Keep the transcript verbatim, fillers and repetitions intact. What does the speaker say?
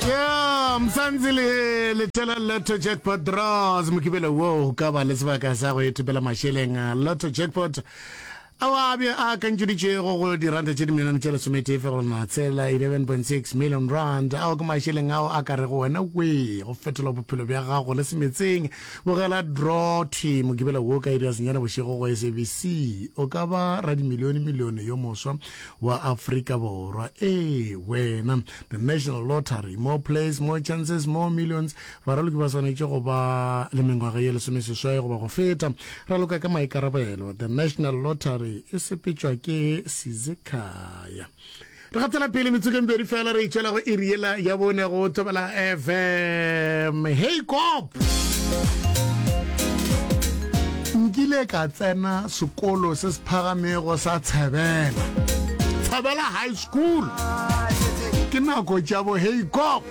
Yeah, Mzansi le letela Lotto Jackpot Draws mokibelo wo o ka ba le sebaka sa go ithopela mašeleng a Lotto Jackpot ao a be a akantšeditšego go diranta tše dimilione tše lesometee fegelwana tshela eleven point six million rand ao ke mašeleng ao a ka rego wena we go fetola bophelo bja gago le semetseng bogela draw thwi mokibelo wo ka iri ya senyane bošego go S A B C. O ka ba radimilione milione yo moswa wa Afrika Borwa. Ee wena. The National Lottery, more plays, more chances, more millions. Baraloki ba swanetše go ba le mengwaga ye lesomeseswai goba go feta. Raloka ka maikarabelo. The National Lottery e sepetšwa ke Sizekhaya. Re gatela pele metsokeng pedi fela re itšwela go iri yela ya bone go Thobela F M. Hey Kop! Nkile ka tsena sekolo se se phagamego sa Tshebela. Tshebela High School. Ke nako tša bo Hey Kop.